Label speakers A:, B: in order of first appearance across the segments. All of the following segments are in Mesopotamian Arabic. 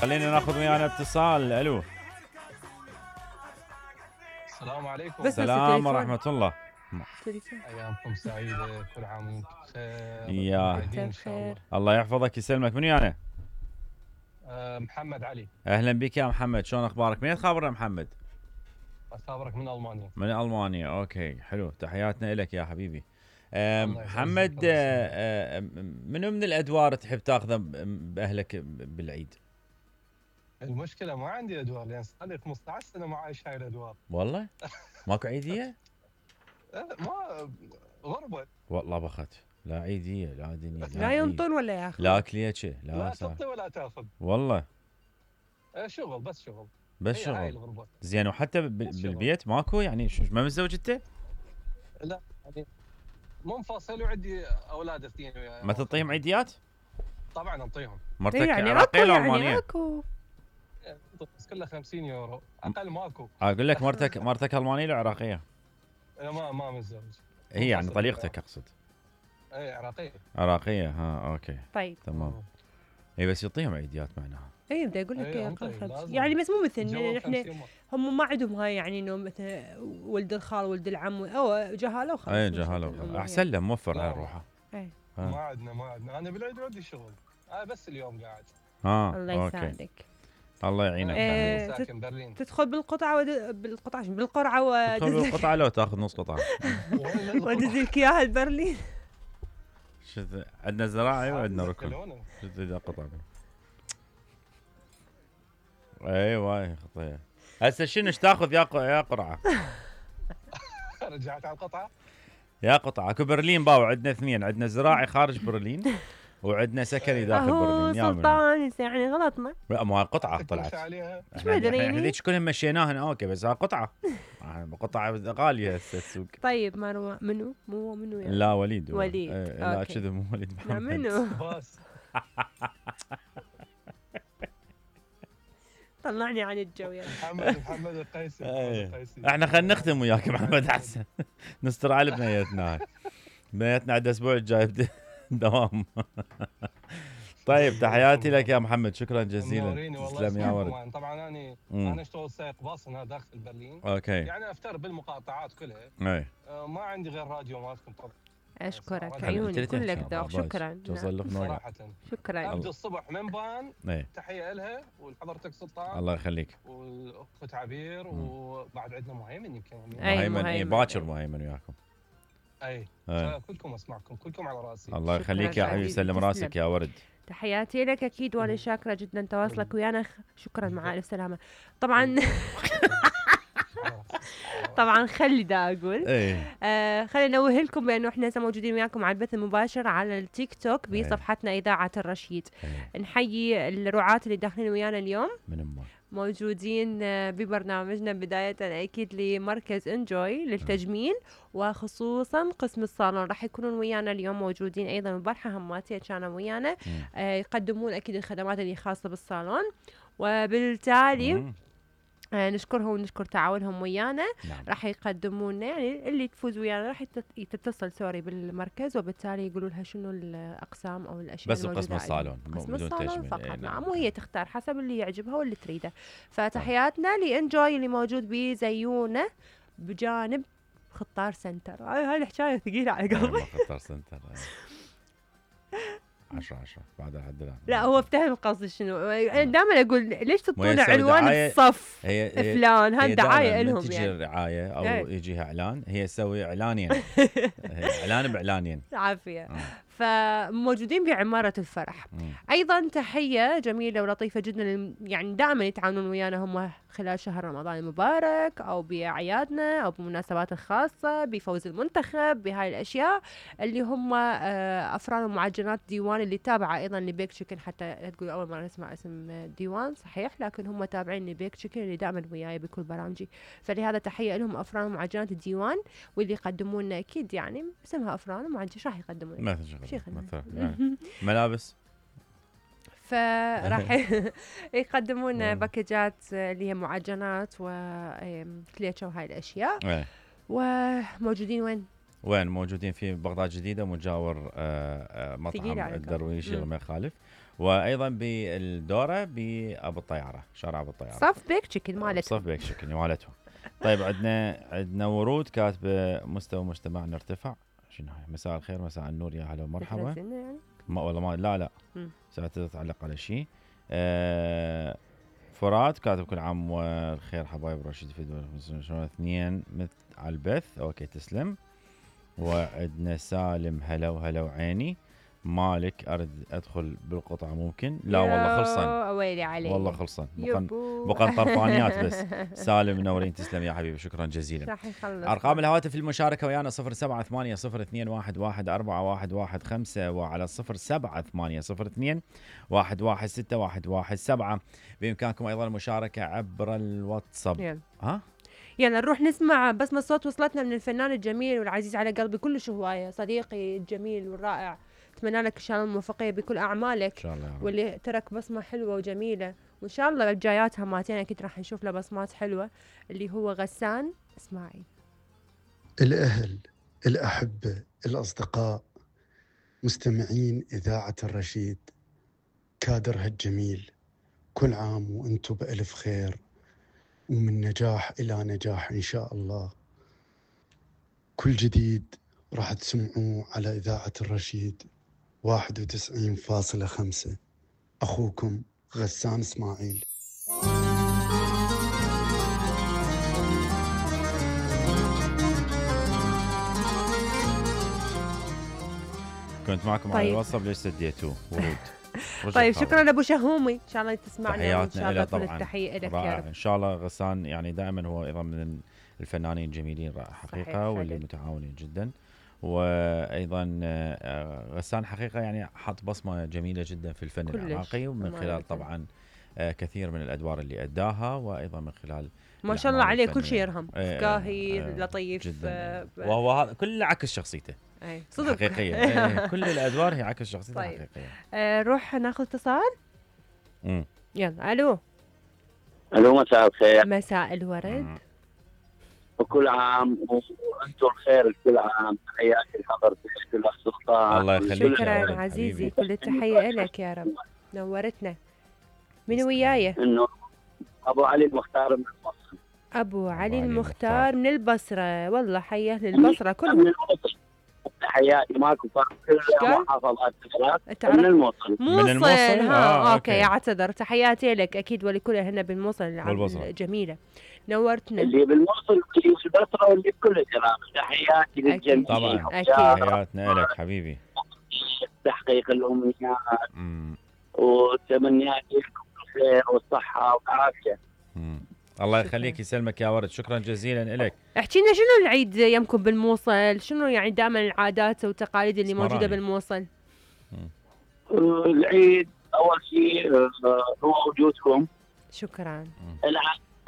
A: خلينا ناخذ ويانا اتصال. الو.
B: السلام عليكم.
A: السلام ورحمة الله.
B: ايامكم سعيدة، كل عام وانتم بخير.
A: يا
B: ان شاء الله.
A: الله يحفظك يسلمك. من ويانا؟
B: محمد علي.
A: اهلا بك يا محمد، شلون اخبارك؟ من تخابرنا محمد؟
B: اخابرك من المانيا.
A: من المانيا، اوكي حلو، تحياتنا لك يا حبيبي. محمد، منو من الادوار تحب تاخذه باهلك بالعيد؟
B: المشكلة ما عندي ادوار لان صار لي 15 سنة ما عايش هاي الادوار.
A: والله؟ ماكو عيدية؟
B: ما غربة.
A: والله بخت، لا عيدية لا دنيا
C: لا ينطون ولا ياخذ،
A: لا كليتشي
B: لا تعطي ولا تاخذ.
A: والله
B: شغل بس شغل.
A: بس شغل. زين، وحتى بالبيت ماكو يعني ما متزوج انت؟
B: لا يعني منفصل وعندي اولاد اثنين.
A: ما تعطيهم عيديات؟
B: طبعا انطيهم.
A: مرتك
C: يعني
A: عراقية ولا
C: يعني
A: المانية؟
C: اكو
B: بس كلها 50 يورو، اقل ماكو.
A: اقول لك مرتك المانية ولا عراقية؟
B: ما متزوج.
A: هي يعني طليقتك اقصد.
B: اي
A: عراقية، ها اوكي.
C: طيب
A: تمام. اي بس يعطيهم عيديات معناها.
C: اي بدي اقول لك يعني بس مو مثل احنا هم ما عندهم هاي يعني انه مثل ولد الخال ولد العم او جهاله وخلاص.
A: اي جهاله احسن له، موفر على روحه.
B: ما عندنا انا بالعيد عندي شغل. بس اليوم قاعد.
C: الله يساعدك.
A: الله يعينك.
B: ساكن برلين.
C: تدخل بالقرعه
A: تدخل بالقطعه لو تاخذ نص قطعه.
C: ودز لك اياها لبرلين.
A: عندنا زراعي وعندنا ركن. شو ذا قطعه؟ ايوه خطيه. هسه شنو ايش تاخذ يا قرعه؟
B: رجعت على القطعه.
A: يا قطعه اكو برلين باو، عندنا اثنين، عندنا زراعي خارج برلين وعندنا سكني داخل برلين.
C: يا سلطان يعني غلطنا.
A: لا ما قطعه طلعت.
C: ايش مدري
A: احنا ذيك كلهم مشيناهن اوكي، بس ها قطعه. قطعه غاليه هسه السوق.
C: طيب مروه منو يعني؟
A: لا وليد.
C: لا
A: كذا مو وليد محمد.
C: لا منو؟ طلعني عن الجو يا
B: محمد القيسي.
A: احنا خلينا نختم وياك محمد احسن. نستر على بنيتنا. بنيتنا عند الاسبوع الجاي دوام. طيب تحياتي لك يا محمد، شكرا جزيلا. تسلم يا ورد.
B: طبعا انا اشتغل سائق باص هنا داخل برلين.
A: اوكي.
B: يعني افتر بالمقاطعات كلها.
A: اي.
B: ما عندي غير راديو مالكم طبعا.
C: اشكرك عيوني كلك ذوق. شكرا
B: صراحه.
C: شكرا.
B: ابدا الصبح من بان. تحيه لها ولحضرتك سلطان.
A: الله يخليك.
B: والاخت عبير وبعد عندنا مهيمن يمكن.
A: مهيمن باكر مهيمن وياكم.
B: اي كلكم اسمعكم، كلكم على راسي.
A: الله يخليك يا حبيبي، سلم راسك يا ورد.
C: تحياتي لك اكيد، وانا شاكره جدا تواصلك ويانا. شكرا، مع الف سلامه. طبعا طبعا خلي دا اقول خلينا نوه لكم بانه احنا موجودين وياكم على البث المباشر على التيك توك بصفحتنا اذاعه الرشيد. نحيي الرعاة اللي داخلين ويانا اليوم، موجودين ببرنامجنا بداية أكيد لمركز انجوي للتجميل، وخصوصا قسم الصالون راح يكونون ويانا اليوم موجودين. أيضا البارحة هماتية كانوا ويانا يقدمون أكيد الخدمات اللي خاصة بالصالون، وبالتالي نشكرهم ونشكر تعاونهم ويانا. راح يقدمون يعني اللي تفوز ويانا راح تتصل بالمركز، وبالتالي يقولوا لها شنو الاقسام او الاشياء
A: بس قسم الصالون،
C: قسم الصالون فقط. نعم، وهي تختار حسب اللي يعجبها واللي تريده. فتحياتنا لانجوي اللي موجود بزيونه بجانب خطار سنتر. هاي الحكايه ثقيله على قلبي.
A: خطار سنتر 10 بعد لحد الان.
C: لا هو افتهم قصدي شنو. انا دائما اقول ليش تحطون عنوان الصف فلان؟ هاي دعايه لهم يعني.
A: تجي رعايه او يجيها اعلان، هي تسوي اعلانين. اعلان باعلانين.
C: عافيه. فموجودين بعمارة الفرح. أيضا تحية جميلة ولطيفة جدا، يعني دائما يتعاونون ويانا هم خلال شهر رمضان المبارك أو بأعيادنا أو بمناسبات الخاصة، بفوز المنتخب، بهاي الأشياء اللي هم أفران ومعجنات ديوان اللي تابعة أيضا لبيك تشيكن. حتى لا تقول أول مرة نسمع اسم ديوان، صحيح، لكن هم تابعين لبيك تشيكن اللي دائما وياي بكل برامجي. فلهذا تحية لهم أفران ومعجنات الديوان، واللي يقدمون أكيد يعني اسمها أفران ومعجنات راح يقدمون
A: ملابس.
C: فراح يقدمون باكجات اللي هي معجنات وكليتشو وهاي الاشياء. وموجودين وين؟
A: موجودين في بغداد جديدة، مجاور مطعم الدرويشي الله ما يخالف. وايضا بالدوره بابو الطياره، شارع ابو الطياره،
C: صف بيك تشيكن مالتهم.
A: صف بيك تشيكن مالتهم. طيب عندنا ورود كاتبه مستوى مجتمعنا ارتفع. شنو هاي؟ مساء الخير، مساء النور، يا هلا ومرحبا.
C: يعني؟
A: ما والله ما لا ستتعلق على شيء. فرات كاتب كل عام والخير حبايب رشيد في شلون اثنين على البث. اوكي تسلم. وعندنا سالم هلا وهلا وعيني. مالك ارد ادخل بالقطعه ممكن؟ لا والله خلصن.
C: ويلي عليك
A: والله خلصن. بقى طرفانيات بس. سالم منورين، تسلم يا حبيبي، شكرا جزيلا.
C: راح يخلص.
A: ارقام الهواتف للمشاركه ويانا 078002114115 وعلى 0780211617. بامكانكم ايضا المشاركه عبر الواتساب.
C: يلا نروح نسمع بسمة صوت وصلتنا من الفنان الجميل والعزيز على قلبي كلش هواية، صديقي الجميل والرائع. اتمنى لك ان شاء الله الموفقيه بكل اعمالك، ان
A: شاء الله،
C: واللي ترك بصمه حلوه وجميله، وان شاء الله الجايات هماتين اكيد راح نشوف له بصمات حلوه، اللي هو غسان اسماعيل.
D: الاهل، الاحبه، الاصدقاء، مستمعين اذاعه الرشيد، كادرها الجميل، كل عام وانتم بالف خير، ومن نجاح الى نجاح ان شاء الله. كل جديد راح تسمعوه على إذاعة الرشيد 91.5. أخوكم غسان إسماعيل.
A: كنت معكم على الواتساب، ليش سديتوه؟ ورود.
C: طيب شكرا ابو شهومي، ان شاء الله تسمعنا.
A: تحياتنا
C: له
A: طبعا.
C: التحيه لك يا رب.
A: ان شاء الله غسان يعني دائما هو ايضا من الفنانين الجميلين حقيقه، واللي متعاونين جدا. وايضا غسان حقيقه يعني حط بصمه جميله جدا في الفن العراقي، ومن خلال طبعا كثير من الادوار اللي اداها، وايضا من خلال
C: ما شاء الله عليه كل شيء يرهم، فكاهي لطيف
A: جدا. وهو هذا كله عكس شخصيته
C: صدق
A: حقيقيه. كل الادوار هي عكس شخصيته. طيب. حقيقيه.
C: روح ناخذ اتصال. يلا الو.
E: مساء الخير.
C: مساء الورد.
E: وكل عام وانتم بخير. كل عام تحياتي لحضرتك والاصدقاء.
A: الله يخليك.
C: شكرا عزيزي، كل التحيه لك يا رب، نورتنا. من وياي؟
E: انه ابو علي المختار من البصره.
C: ابو علي المختار من البصره، والله حي اهل البصره كلهم. من
E: الموصل. تحياتي ماكو فرق، كل محافظات من الموصل.
C: من الموصل. اوكي اعتذر. تحياتي لك اكيد ولكل هنا بالموصل الجميله، نورتنا.
E: اللي بالموصل واللي بالبصره واللي بكل العراق، تحياتي للجميع
A: طبعا. تحياتنا لك حبيبي.
E: تحقيق الامنيات وتمنياتي لكم الخير والصحه والعافيه.
A: الله يخليك، يسلمك يا ورد، شكرا جزيلا لك.
C: احكي لنا شنو العيد يمكم بالموصل؟ شنو يعني دائما العادات والتقاليد اللي موجوده بالموصل؟
E: العيد اول شيء هو وجودكم.
C: شكرا.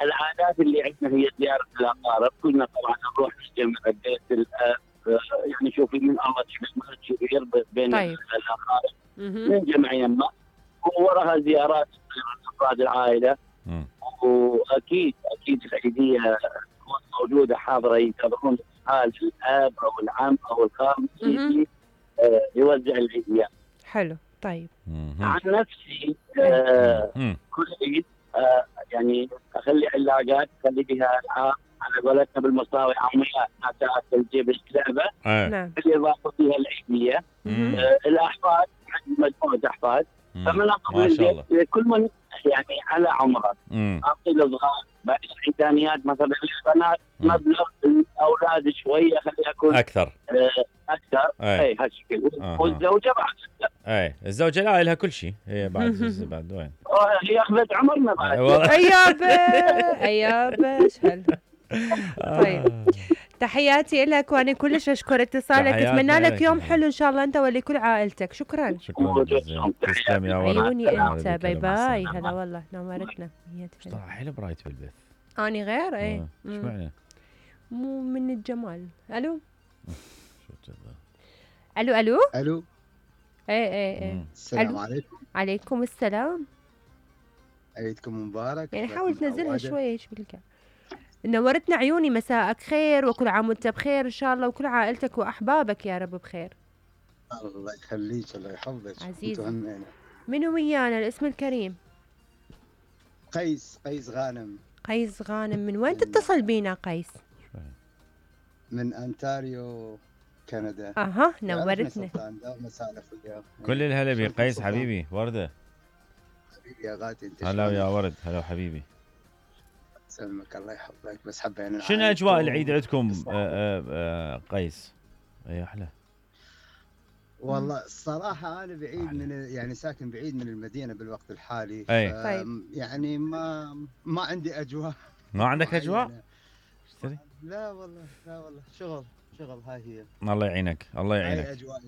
E: العادات اللي عندنا هي زياره الاقارب، كلنا طبعا نروح نجتمع ببيت الاب، يعني شوفي من الله تشبه كبير بين الاقارب، ننجمع يمه، ووراها زيارات افراد العائله. واكيد العيديه موجوده حاضره، ينتظرون حال الاب او العم او الخال يوزع العيديات.
C: حلو. طيب
E: عن نفسي كل عيد يعني اخلي علاقات، اخلي بها العاب على قولتنا بالمصاوي عميات، ناسات تجيب اللعبه. بالاضافه فيها العيديه. الاحفاد عندي مجموعه احفاد، فمن اقول كل من يعني على عمره اعطي الصغار بعد العيدانيات مثلا البنات مبلغ، الاولاد شويه خليها يكون
A: اكثر.
E: اي هالشكل. والزوجه بعد
A: اي الزوجه لا لها كل شيء، هي بعد وين؟
E: هي اخذت عمرنا بعد.
C: ايابه شهل. طيب تحياتي لك، وانا كلش اشكر اتصالك، اتمنى لك يوم حلو ان شاء الله انت ولكل عائلتك. شكرا
A: جزيلا. تسلم يا ورد.
C: عيوني انت. باي باي. هلا والله نورتنا.
A: طلع حلو برايت بالبث.
C: اني غير ايش
A: معنى؟
C: مو من الجمال. الو
A: شو كذا؟
C: الو ايه
F: السلام عليكم.
C: عليكم السلام.
F: عيدكم مبارك.
C: يعني حاول تنزلها شويه ايش بالك. نورتنا عيوني، مساءك خير وكل عام وانت بخير ان شاء الله، وكل عائلتك واحبابك يا رب بخير.
F: الله يخليك، الله يحفظك
C: عزيزي. منو ويانا الاسم الكريم؟
F: قيس غانم.
C: قيس غانم، من وين تتصل بينا قيس؟
F: من أنتاريو كندا.
C: نورتنا.
A: كل الهلا بقيس حبيبي. وردة
F: حبيبي يا غاتي.
A: هلا يا ورد. هلا حبيبي.
F: سلمك الله يحفظك. بس حبينا
A: شنو اجواء العيد عندكم قيس؟ اي احلى.
F: والله الصراحة أنا بعيد من يعني ساكن بعيد من المدينة بالوقت الحالي. يعني ما عندي أجواء.
A: ما عندك أجواء؟
F: لا والله شغل هاي هي.
A: الله يعينك الله يعينك.
F: هاي أجواء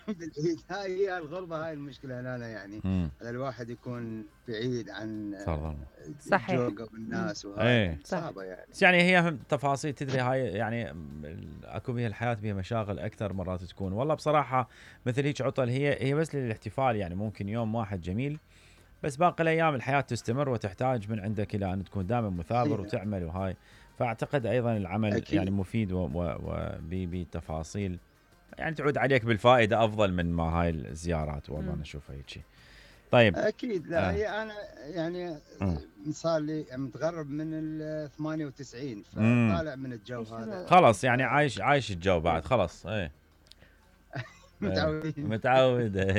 F: بالعيد. هاي هي الغربة، هاي المشكلة هنا يعني. الواحد يكون بعيد عن الجوق والناس وهاي صعبة يعني.
A: بس يعني هي تفاصيل تدري هاي يعني اكو بها الحياة بها مشاغل أكثر مرات تكون. والله بصراحة مثل هيك عطل هي بس للاحتفال يعني ممكن يوم واحد جميل، بس باقي الأيام الحياة تستمر وتحتاج من عندك إلى أن تكون دائما مثابر وتعمل وهاي. فأعتقد أيضا العمل أكيد. يعني مفيد وبتفاصيل يعني تعود عليك بالفائدة أفضل من ما هاي الزيارات. والله أنا أشوفها هيك. طيب
F: أكيد. لا هي أنا يعني صار لي متغرب من ال 98 فطالع من الجو هذا
A: خلاص يعني عايش الجو بعد خلاص. متعود.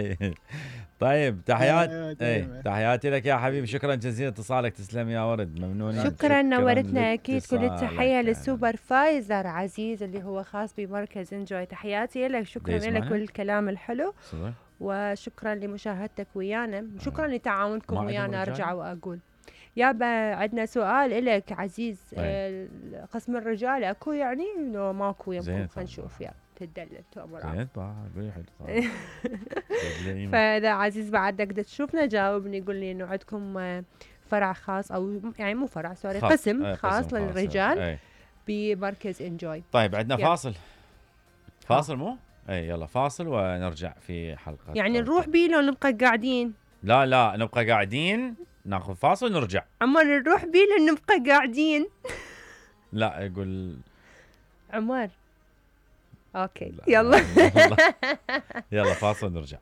A: طيب تحياتي لك يا حبيبي. شكرا جزيلا اتصالك. تسلم يا ورد. ممنونين.
C: شكرا نورتنا. اكيد كل التحيه للسوبرفايزر عزيز اللي هو خاص بمركز انجوي. تحياتي لك. شكرا لك كل الكلام الحلو وشكرا لمشاهدتك ويانا. شكرا لتعاونكم ويانا. ارجع واقول يابا عندنا سؤال لك عزيز. قسم الرجال اكو يعني لو ماكو يمكن خلينا نشوف. يلا تدلل تؤمر. فاذا عزيز بعدك تشوفنا جاوبني قول لي انه عندكم فرع خاص او يعني مو فرع سوري قسم خاص للرجال بمركز انجوي.
A: طيب عندنا فاصل مو يلا فاصل ونرجع في حلقة.
C: يعني نروح بيه لو نبقى قاعدين؟
A: لا نبقى قاعدين ناخذ فاصل ونرجع.
C: عمر نروح بيه لو نبقى قاعدين؟
A: لا يقول
C: عمر اوكي يلا
A: يلا فاصل نرجع.